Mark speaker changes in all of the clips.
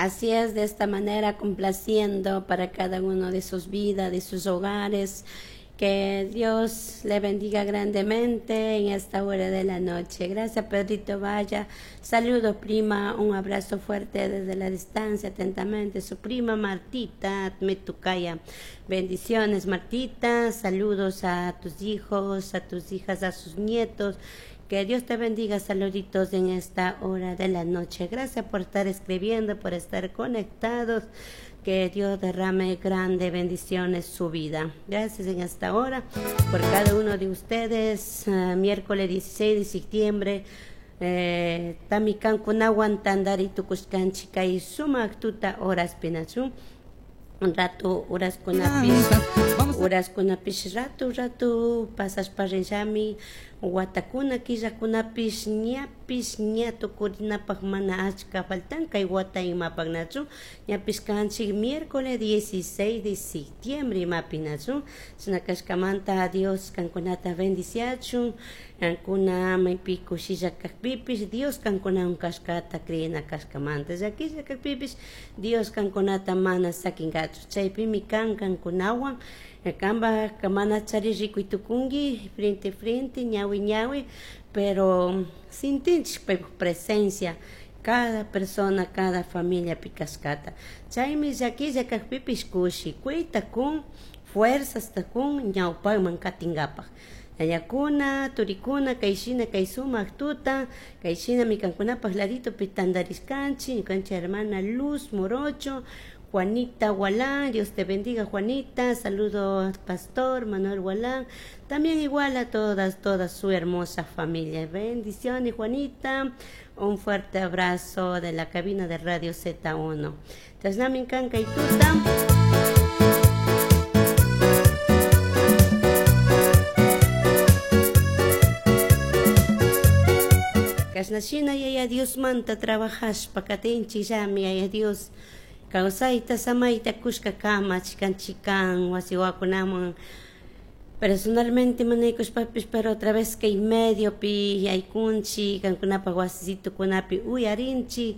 Speaker 1: Así es, de esta manera complaciendo para cada uno de sus vidas, de sus hogares. Que Dios le bendiga grandemente en esta hora de la noche. Gracias, Pedrito Vaya. Saludos, prima. Un abrazo fuerte desde la distancia, atentamente. Su prima Martita Metucaya. Bendiciones, Martita. Saludos a tus hijos, a tus hijas, a sus nietos. Que Dios te bendiga, saluditos en esta hora de la noche. Gracias por estar escribiendo, por estar conectados. Que Dios derrame grandes bendiciones su vida. Gracias en esta hora por cada uno de ustedes. Miércoles 16 de septiembre. Tamikankunawan tandari tukushkanchik kay sumak tuta horaspinachu. Rato horaskunapish, horaskunapish rato rato pasashpa rinllami watakuna killakunapish ñapish ña tukurinapaj mana achka faltan kay wata imapaknachu ñapish kanchik miércoles 16 de septiembre imapinachu chashna kashkamanta Dios kankunata bendiciachun kankuna maypi kushilla kakpipish Dios kankunawan kashkata creena kashkamanta llakilla kakpipish Dios kankunata mana sakinkachu chaypimi kan kankunawan kanpak mana chari rikuy tukunki frente frente ñawi ñawi pero sintinchik paypak presencia cada persona cada familiapi kashkata chaymi llakilla kakpipish kushikuyta kun fuerzasta kun ñawpakman katinkapak yayakuna turikuna kayshina kay sumak tuta kayshinami kankunapak laditopi tantarishkanchik ñukanchik hermana Luz Morocho Juanita Gualán, Dios te bendiga Juanita, saludo pastor Manuel Gualán, también igual a todas, toda su hermosa familia. Bendiciones Juanita, un fuerte abrazo de la cabina de Radio Z1. Chashnami kan kay tuta. Kashnashina yaya Diosmanta trabajashpa katinchikllami yaya Dios kawsayta samayta kushka kama chikan chikan wasi wawakunaman personalmente manaykushpapish pero otra vez kay mediopi yaykunchik kankunapak wasisitukunapi uyarinchik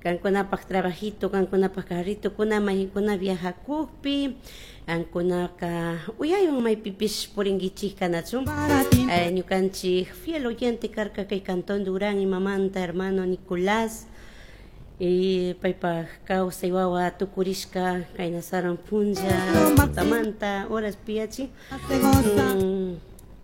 Speaker 1: kankunapak trabajito kankunapak carritokuna mayqankuna viajakukpi kankunaka uyaywan maypipish purinkichik nachu ñukanchik fiel oyente karka kay Cantón Durán imamanta hermano Nicolás y paypak kawsay wawa tukurishka kay sarun punlla tutamanta horas piyachi.